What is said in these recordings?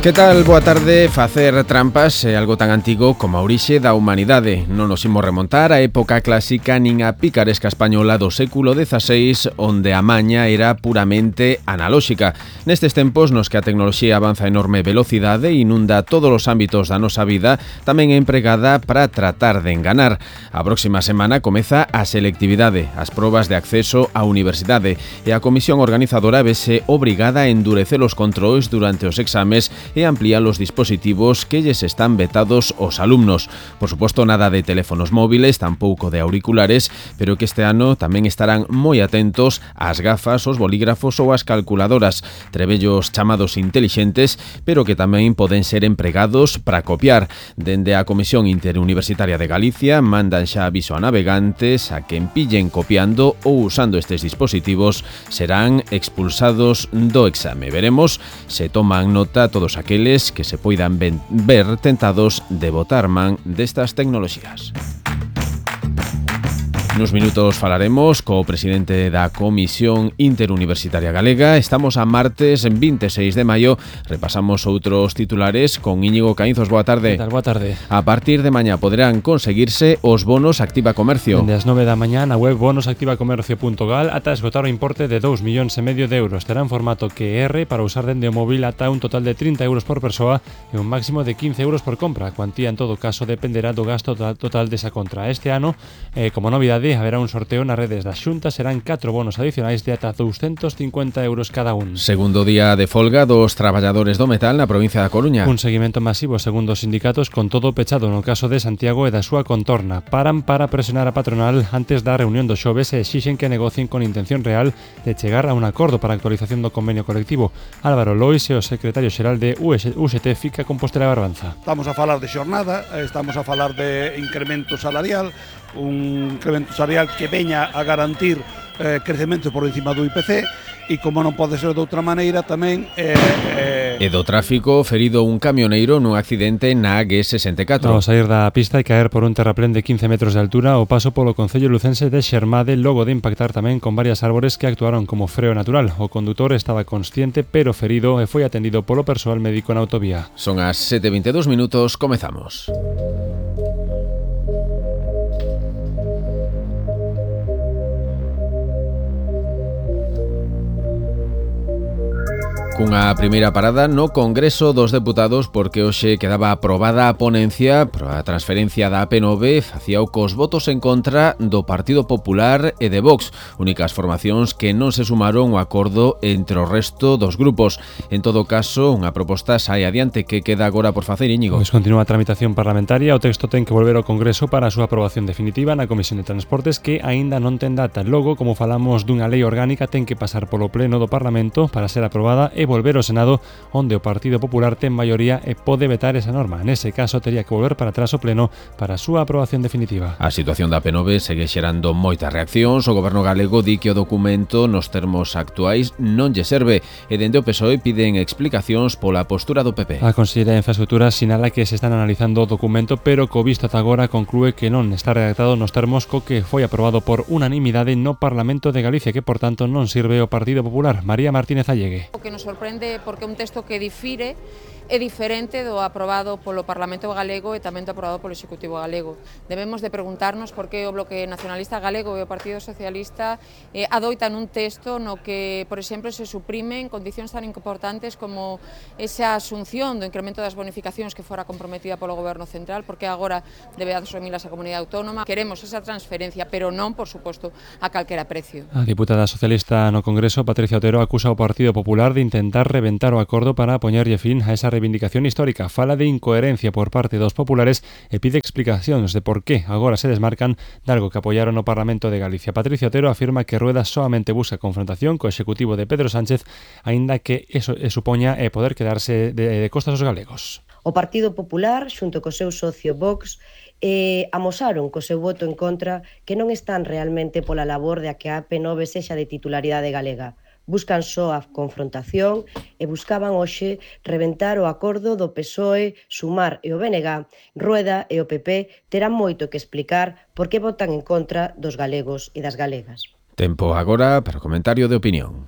Que tal? Boa tarde. Facer trampas é algo tan antigo como a orixe da humanidade. Non nos imos remontar á época clásica nin a picaresca española do século XVI, onde a maña era puramente analóxica. Nestes tempos nos que a tecnoloxía avanza a enorme velocidade e inunda todos os ámbitos da nosa vida, tamén é empregada para tratar de enganar. A próxima semana comeza a selectividade, as probas de acceso á universidade, e a comisión organizadora vese obrigada a endurecer os controis durante os exames e amplía os dispositivos que lles están vetados aos alumnos. Por suposto, nada de teléfonos móviles, tampouco de auriculares, pero que este ano tamén estarán moi atentos ás gafas, os bolígrafos ou as calculadoras, trebellos chamados intelixentes, pero que tamén poden ser empregados para copiar. Dende a Comisión Interuniversitaria de Galicia mandan xa aviso a navegantes a quen pillen copiando ou usando estes dispositivos serán expulsados do exame. Veremos se toman nota todos aqueles que se poidan ver tentados de botar man destas tecnoloxías. Nos minutos falaremos co presidente da Comisión Interuniversitaria Galega. Estamos a martes 26 de maio. Repasamos outros titulares con Íñigo Caínzos. Boa tarde. Que tal? Boa tarde. A partir de mañá poderán conseguirse os bonos Activa Comercio. Dende as 9 da mañá na web bonosactivacomercio.gal ata esgotar o importe de 2,5 millóns de euros. Terá en formato QR para usar dende o móvil ata un total de 30 euros por persoa e un máximo de 15 euros por compra. A cuantía en todo caso dependerá do gasto total desa compra. Este ano, como novidade, haberá un sorteo nas redes das Xuntas, serán 4 bonos adicionais de ata 250 euros cada un. Segundo día de folga dos traballadores do metal na provincia da Coruña. Un seguimento masivo segundo os sindicatos, con todo pechado no caso de Santiago e da súa contorna. Paran para presionar a patronal antes da reunión do xoves e exixen que negocien con intención real de chegar a un acordo para a actualización do convenio colectivo. Álvaro Lois, o secretario xeral de UGT Fica Compostela Barbanza. Estamos a falar de xornada, estamos a falar de incremento salarial, un incremento salarial que veña a garantir crecemento por encima do IPC e, como non pode ser de outra maneira, tamén E do tráfico, ferido un camioneiro nun accidente na AG64. Ao sair da pista e caer por un terraplén de 15 metros de altura, o paso polo concello lucense de Xermade, logo de impactar tamén con varias árbores que actuaron como freo natural. O condutor estaba consciente pero ferido e foi atendido polo persoal médico na autovía. Son as 7:22 minutos, comezamos. Cunha primeira parada no Congreso dos Deputados, porque hoxe quedaba aprobada a ponencia para a transferencia da AP9 facía o cos votos en contra do Partido Popular e de Vox, únicas formacións que non se sumaron ao acordo entre o resto dos grupos. En todo caso, unha proposta sai adiante. Que queda agora por facer, Íñigo? Pois continúa a tramitación parlamentaria. O texto ten que volver ao Congreso para a súa aprobación definitiva na Comisión de Transportes, que aínda non ten data. Logo, como falamos dunha lei orgánica, ten que pasar polo Pleno do Parlamento para ser aprobada e volver ao Senado, onde o Partido Popular ten maioría e pode vetar esa norma. Nese caso, tería que volver para atrás o Pleno para a súa aprobación definitiva. A situación da AP9 segue xerando moitas reaccións. O Goberno galego di que o documento nos termos actuais non lle serve e dende o PSOE piden explicacións pola postura do PP. A Conselleira de Infraestructuras sinala que se están analizando o documento, pero co visto ata agora conclúe que non está redactado nos termos co que foi aprobado por unanimidade no Parlamento de Galicia, que por tanto non sirve ao Partido Popular. María Martínez Allegue. O que nos sorprende porque é un texto que difire é diferente do aprobado polo Parlamento galego e tamén do aprobado polo Executivo galego. Debemos de preguntarnos por que o Bloque Nacionalista Galego e o Partido Socialista adoitan un texto no que, por exemplo, se suprimen condicións tan importantes como esa asunción do incremento das bonificacións que fora comprometida polo Goberno Central, porque agora debe asumilas a Comunidade Autónoma. Queremos esa transferencia, pero non, por suposto, a calquera precio. A diputada socialista no Congreso, Patricia Otero, acusa ao Partido Popular de intentar reventar o acordo para poñerlle fin a esa reivindicación histórica. Fala de incoherencia por parte dos populares e pide explicacións de por qué agora se desmarcan de algo que apoiaron no Parlamento de Galicia. Patricia Otero afirma que Rueda solamente busca confrontación co executivo de Pedro Sánchez, aínda que eso supoña poder quedarse de costas aos galegos. O Partido Popular, xunto co seu socio Vox, amosaron co seu voto en contra que non están realmente pola labor de que a AP9 sexa de titularidade galega. Buscan só a confrontación e buscaban hoxe reventar o acordo do PSOE, Sumar e o BNG. Rueda e o PP terán moito que explicar por que votan en contra dos galegos e das galegas. Tempo agora para o comentario de opinión.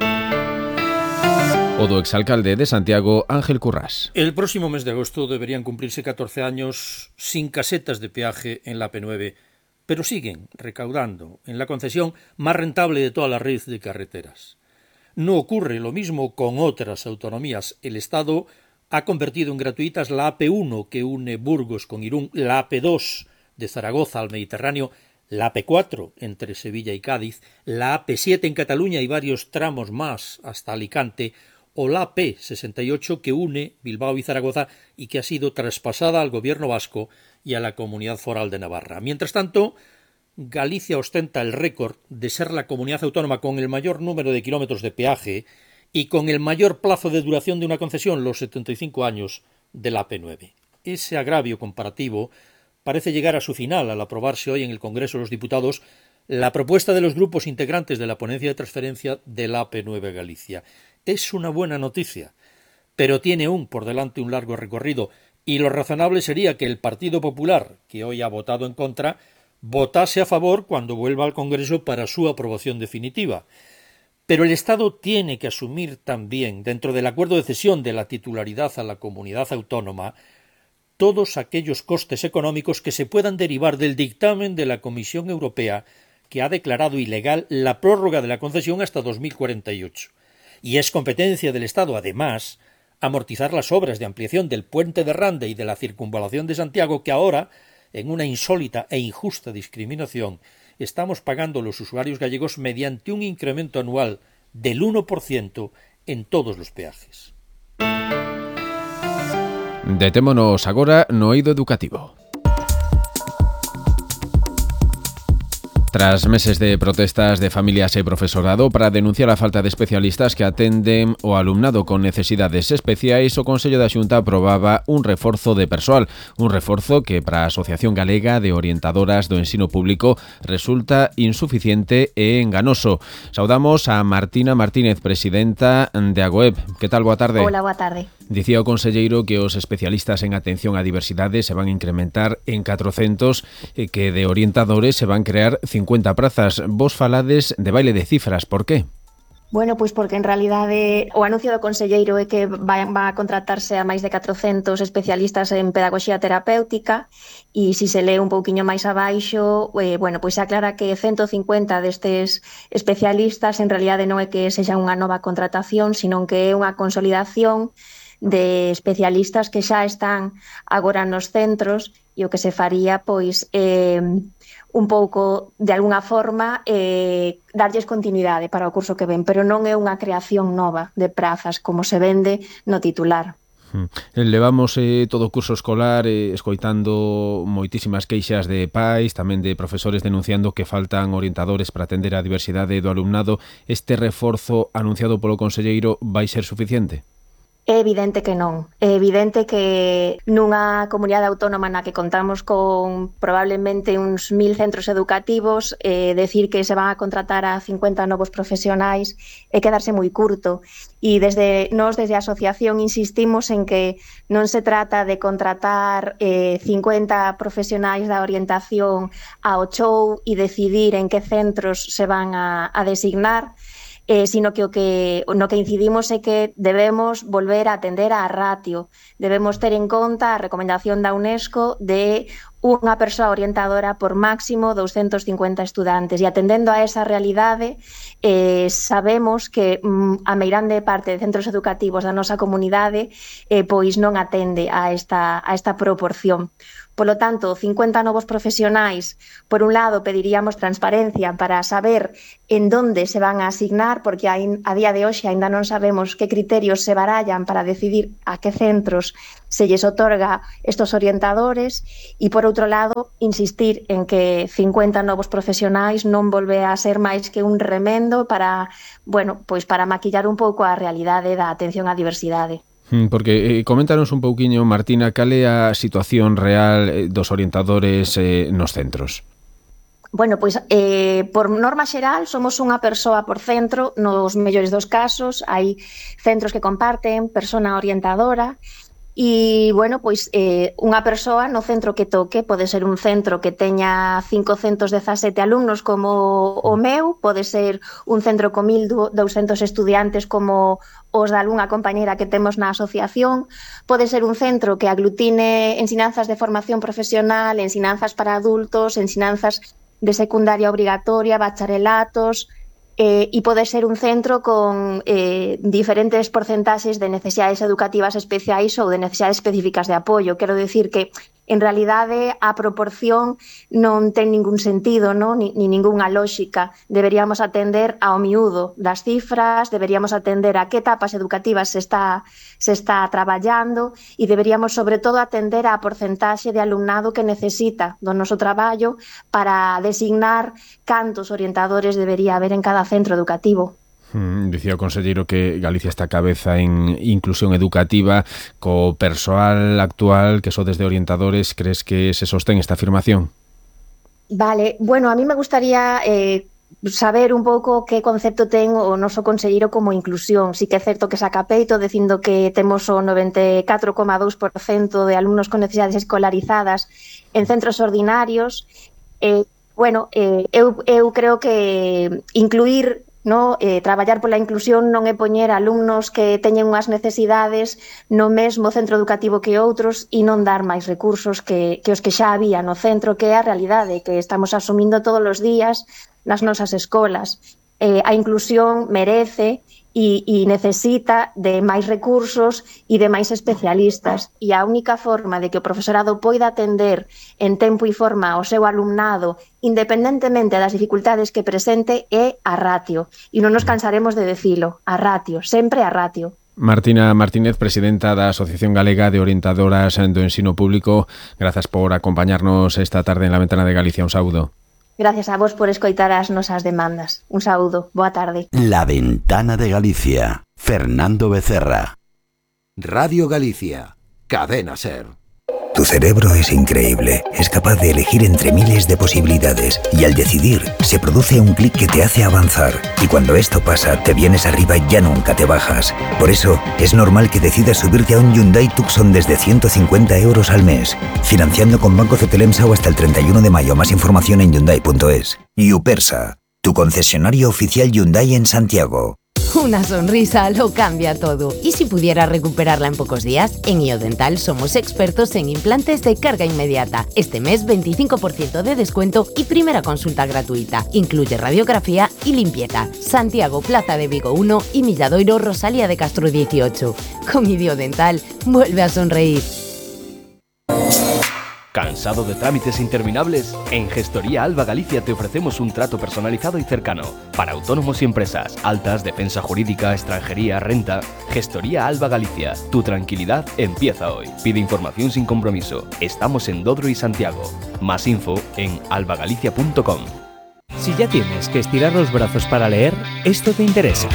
O do exalcalde de Santiago, Ángel Currás. El próximo mes de agosto deberían cumplirse 14 años sin casetas de peaje en la P9, pero siguen recaudando en la concesión más rentable de toda la red de carreteras. No ocurre lo mismo con otras autonomías. El Estado ha convertido en gratuitas la AP1 que une Burgos con Irún, la AP2 de Zaragoza al Mediterráneo, la AP4 entre Sevilla y Cádiz, la AP7 en Cataluña y varios tramos más hasta Alicante, o la P68 que une Bilbao y Zaragoza y que ha sido traspasada al gobierno vasco y a la Comunidad Foral de Navarra. Mientras tanto, Galicia ostenta el récord de ser la comunidad autónoma con el mayor número de kilómetros de peaje y con el mayor plazo de duración de una concesión, los 75 años de la P9. Ese agravio comparativo parece llegar a su final al aprobarse hoy en el Congreso de los Diputados la propuesta de los grupos integrantes de la ponencia de transferencia de la P9 Galicia. Es una buena noticia, pero tiene aún por delante un largo recorrido y lo razonable sería que el Partido Popular, que hoy ha votado en contra, votase a favor cuando vuelva al Congreso para su aprobación definitiva. Pero el Estado tiene que asumir también, dentro del acuerdo de cesión de la titularidad a la comunidad autónoma, todos aquellos costes económicos que se puedan derivar del dictamen de la Comisión Europea que ha declarado ilegal la prórroga de la concesión hasta 2048. Y es competencia del Estado, además, amortizar las obras de ampliación del puente de Rande y de la circunvalación de Santiago que ahora, en una insólita e injusta discriminación, estamos pagando los usuarios gallegos mediante un incremento anual del 1% en todos los peajes. Detémonos agora no eido educativo. Tras meses de protestas de familias e profesorado para denunciar a falta de especialistas que atenden o alumnado con necesidades especiais, o Consello da Xunta aprobaba un reforzo de persoal, un reforzo que para a Asociación Galega de Orientadoras do Ensino Público resulta insuficiente e enganoso. Saudamos a Martina Martínez, presidenta de Agoep. Que tal? Boa tarde. Hola, boa tarde. Dicía o conselleiro que os especialistas en atención á diversidade se van a incrementar en 400 e que de orientadores se van crear 50 prazas. Vos falades de baile de cifras, por qué? Bueno, pois porque en realidade o anuncio do conselleiro é que va a contratarse a máis de 400 especialistas en pedagogía terapéutica e se se lee un pouquiño máis abaixo, bueno, pois se aclara que 150 destes especialistas en realidade non é que sexa unha nova contratación, sino que é unha consolidación de especialistas que xa están agora nos centros e o que se faría pois un pouco, de algunha forma, darlles continuidade para o curso que ven, pero non é unha creación nova de prazas como se vende no titular. Levamos todo o curso escolar escoitando moitísimas queixas de pais, tamén de profesores denunciando que faltan orientadores para atender a diversidade do alumnado. Este reforzo anunciado polo conselleiro vai ser suficiente? É evidente que non. É evidente que nunha comunidade autónoma na que contamos con probablemente uns 1000 centros educativos, decir que se van a contratar a 50 novos profesionais é quedarse moi curto. E desde a asociación insistimos en que non se trata de contratar 50 profesionais da orientación ao chou e decidir en que centros se van a designar, sino que no que incidimos é que debemos volver a atender á ratio. Debemos ter en conta a recomendación da UNESCO de unha persoa orientadora por máximo 250 estudantes, e atendendo a esa realidade sabemos que a meirande parte de centros educativos da nosa comunidade pois non atende a esta proporción. Polo tanto, 50 novos profesionais, por un lado pediríamos transparencia para saber en donde se van a asignar, porque a día de hoxe ainda non sabemos que criterios se barallan para decidir a que centros se lles otorga estos orientadores, e por outro lado, insistir en que 50 novos profesionais non volve a ser máis que un remendo para, bueno, pois para maquillar un pouco a realidade da atención á diversidade. Porque coméntanos un pouquiño, Martina, cal é a situación real dos orientadores nos centros? Bueno, pois por norma xeral somos unha persoa por centro, nos mellores dos casos hai centros que comparten persona orientadora E, bueno, pois unha persoa no centro que toque, pode ser un centro que teña 517 alumnos como o meu, pode ser un centro con 1.200 estudiantes como os da algunha compañeira que temos na asociación, pode ser un centro que aglutine ensinanzas de formación profesional, ensinanzas para adultos, ensinanzas de secundaria obrigatoria, bacharelatos, e pode ser un centro con diferentes porcentaxes de necesidades educativas especiais ou de necesidades específicas de apoio. Quero dicir que, en realidade, a proporción non ten ningún sentido, non? Ni ningunha lógica. Deberíamos atender ao miúdo das cifras, deberíamos atender a que etapas educativas se está traballando e deberíamos, sobre todo, atender a porcentaxe de alumnado que necesita do noso traballo para designar cantos orientadores debería haber en cada centro educativo. Dicía o conselleiro que Galicia está a cabeza en inclusión educativa. Co persoal actual, que sodes de orientadores, crees que se sostén esta afirmación? Vale, bueno, a mí me gustaría saber un pouco que concepto ten o noso conselleiro como inclusión. Sí que é certo que saca peito dicindo que temos o 94,2% de alumnos con necesidades escolarizadas en centros ordinarios. Bueno, eu creo que incluir, traballar pola inclusión non é poñer alumnos que teñen unhas necesidades no mesmo centro educativo que outros e non dar máis recursos que os que xa había no centro, que é a realidade que estamos asumindo todos os días nas nosas escolas. A inclusión merece e necesita de máis recursos e de máis especialistas, e a única forma de que o profesorado poida atender en tempo e forma ao seu alumnado, independentemente das dificultades que presente, é a ratio, e non nos cansaremos de decilo, a ratio, sempre a ratio. Martina Martínez, presidenta da Asociación Galega de Orientadoras do Ensino Público, grazas por acompañarnos esta tarde en La Ventana de Galicia. Un saúdo. Gracias a vos por escoitar as nosas demandas. Un saúdo. Boa tarde. La Ventana de Galicia. Fernando Becerra. Radio Galicia. Cadena SER. Tu cerebro es increíble, es capaz de elegir entre miles de posibilidades y al decidir se produce un clic que te hace avanzar y cuando esto pasa te vienes arriba y ya nunca te bajas. Por eso es normal que decidas subirte a un Hyundai Tucson desde 150 euros al mes, financiando con Banco Cetelemsa o hasta el 31 de mayo. Más información en Hyundai.es. Yupersa, tu concesionario oficial Hyundai en Santiago. Una sonrisa lo cambia todo. ¿Y si pudiera recuperarla en pocos días? En IoDental somos expertos en implantes de carga inmediata. Este mes 25% de descuento y primera consulta gratuita. Incluye radiografía y limpieza. Santiago, Plaza de Vigo 1 y Milladoiro, Rosalía de Castro 18. Con IoDental, vuelve a sonreír. ¿Cansado de trámites interminables? En Gestoría Alba Galicia te ofrecemos un trato personalizado y cercano para autónomos y empresas, altas, defensa jurídica, extranjería, renta. Gestoría Alba Galicia, tu tranquilidad empieza hoy. Pide información sin compromiso. Estamos en Dodro y Santiago. Más info en albagalicia.com. Si ya tienes que estirar los brazos para leer, esto te interesa.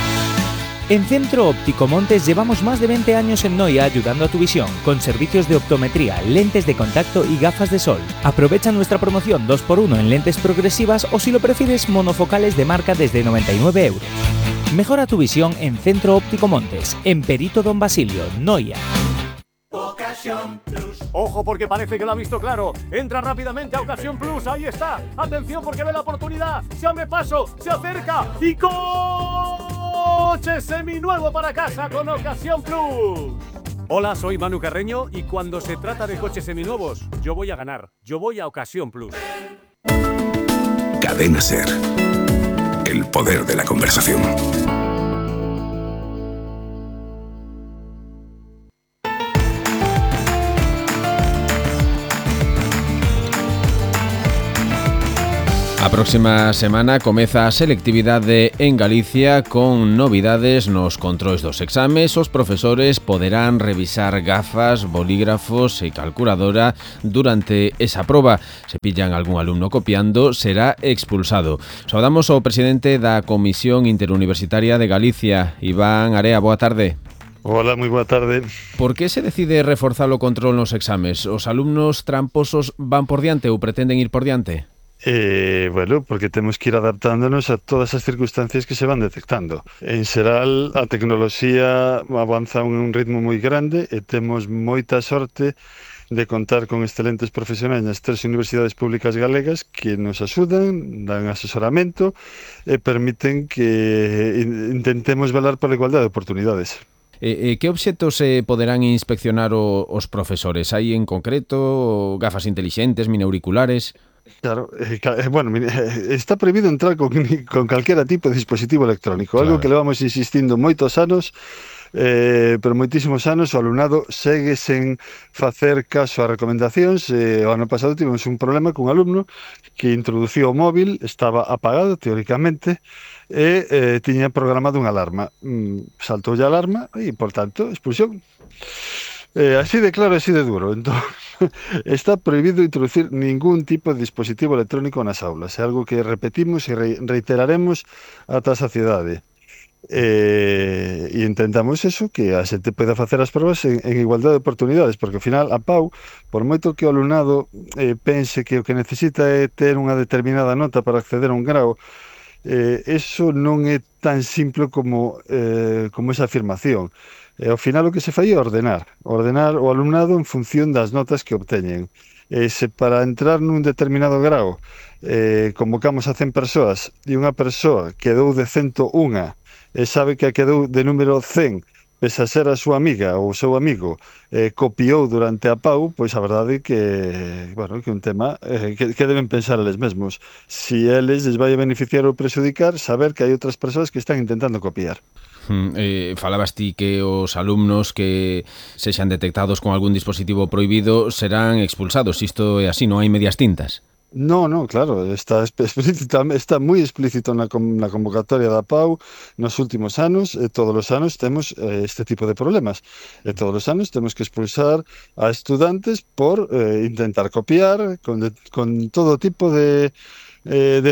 En Centro Óptico Montes llevamos más de 20 años en Noia ayudando a tu visión, con servicios de optometría, lentes de contacto y gafas de sol. Aprovecha nuestra promoción 2x1 en lentes progresivas o si lo prefieres monofocales de marca desde 99 euros. Mejora tu visión en Centro Óptico Montes, en Perito Don Basilio, Noia. Ocasión Plus. Ojo porque parece que lo ha visto claro. Entra rápidamente a Ocasión Plus. Ahí está. Atención porque ve la oportunidad. Se abre paso, se acerca y coche seminuevo para casa con Ocasión Plus. Hola, soy Manu Carreño y cuando se trata de coches seminuevos, yo voy a ganar. Yo voy a Ocasión Plus. Cadena SER. El poder de la conversación. A próxima semana comeza a selectividade en Galicia con novidades nos controis dos exames. Os profesores poderán revisar gafas, bolígrafos e calculadora durante esa proba. Se pillan algún alumno copiando, será expulsado. Saudamos ao presidente da Comisión Interuniversitaria de Galicia, Iván Area. Boa tarde. Hola, moi boa tarde. Por que se decide reforzar o control nos exames? Os alumnos tramposos van por diante ou pretenden ir por diante? Bueno, porque temos que ir adaptándonos a todas as circunstancias que se van detectando. En xeral, a tecnoloxía avanza a un ritmo moi grande e temos moita sorte de contar con excelentes profesionais nas 3 universidades públicas galegas que nos axudan, dan asesoramento e permiten que intentemos velar pola igualdade de oportunidades. Que obxectos se poderán inspeccionar os profesores? Hai en concreto gafas intelixentes, mini-auriculares? Claro, bueno, está prohibido entrar con calquera tipo de dispositivo electrónico, claro. Algo que levamos insistindo moitos anos, pero moitísimos anos o alumnado segue sen facer caso a recomendacións. O ano pasado tivemos un problema cun alumno que introducía o móvil, estaba apagado teóricamente e tiña programado unha alarma. Saltou a alarma e, por tanto, expulsión. Así de claro, así de duro. Entón, está prohibido introducir ningún tipo de dispositivo electrónico nas aulas. É algo que repetimos e reiteraremos ata a saciedade. E intentamos eso, que a xente poida facer as probas en igualdade de oportunidades, porque ao final a PAU, por moito que o alumnado pense que o que necesita é ter unha determinada nota para acceder a un grao, eso non é tan simple como esa afirmación. Ao final o que se fai é ordenar o alumnado en función das notas que obteñen. Se para entrar nun determinado grao convocamos a 100 persoas e unha persoa quedou de 101 e sabe que quedou de número 100, pese a ser a súa amiga ou o seu amigo, copiou durante a PAU, pois a verdade é que, bueno, que un tema que deben pensar eles mesmos. Si eles les vai a beneficiar ou prexudicar, saber que hai outras persoas que están intentando copiar. Falabas ti que os alumnos que sexan detectados con algún dispositivo prohibido serán expulsados. Isto é así, non hai medias tintas? No, claro, está moi explícito na convocatoria da PAU nos últimos anos, e todos os anos temos este tipo de problemas, e todos os anos temos que expulsar a estudantes por intentar copiar con todo tipo de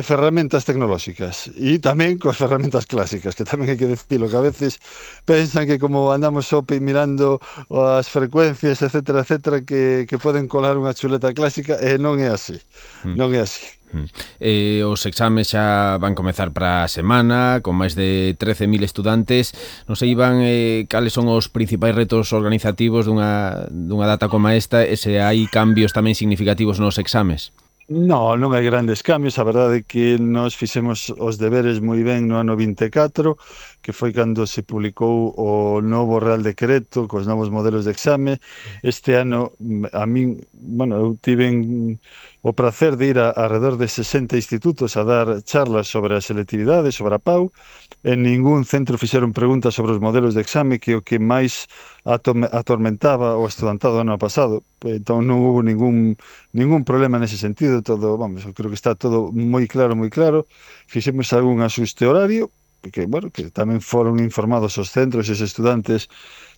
ferramentas tecnolóxicas e tamén coas ferramentas clásicas, que tamén hai que decirlo, que a veces pensan que como andamos mirando as frecuencias, etcétera, que poden colar unha chuleta clásica, e non é así. Non é así. Os exames xa van comezar para a semana, con máis de 13.000 estudantes. Non sei, Iván, cales son os principais retos organizativos dunha data como esta, e se hai cambios tamén significativos nos exames? Non hai grandes cambios. A verdade é que nós fixemos os deberes moi ben no ano 24, que foi cando se publicou o novo Real Decreto cos novos modelos de exame. Este ano, a min, eu tiven o prazer de ir a alrededor de 60 institutos a dar charlas sobre a selectividade, sobre a PAU. En ningún centro fixeron preguntas sobre os modelos de exame, que o que máis atormentaba o estudantado ano pasado. Entón non houve ningún problema nese sentido. Todo, eu creo que está todo moi claro. Fixemos algún axuste horario, que tamén foron informados os centros e os estudantes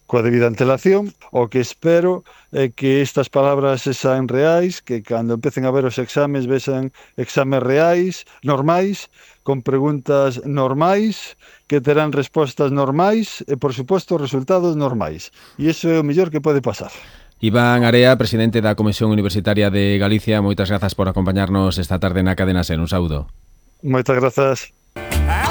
coa debida antelación. O que espero é que estas palabras sexan reais, que cando empecen a ver os exames vexan exames reais, normais, con preguntas normais, que terán respostas normais e, por suposto, resultados normais. E iso é o mellor que pode pasar. Iván Area, presidente da Comisión Universitaria de Galicia, moitas grazas por acompañarnos esta tarde na Cadena SER. Un saúdo. Moitas grazas.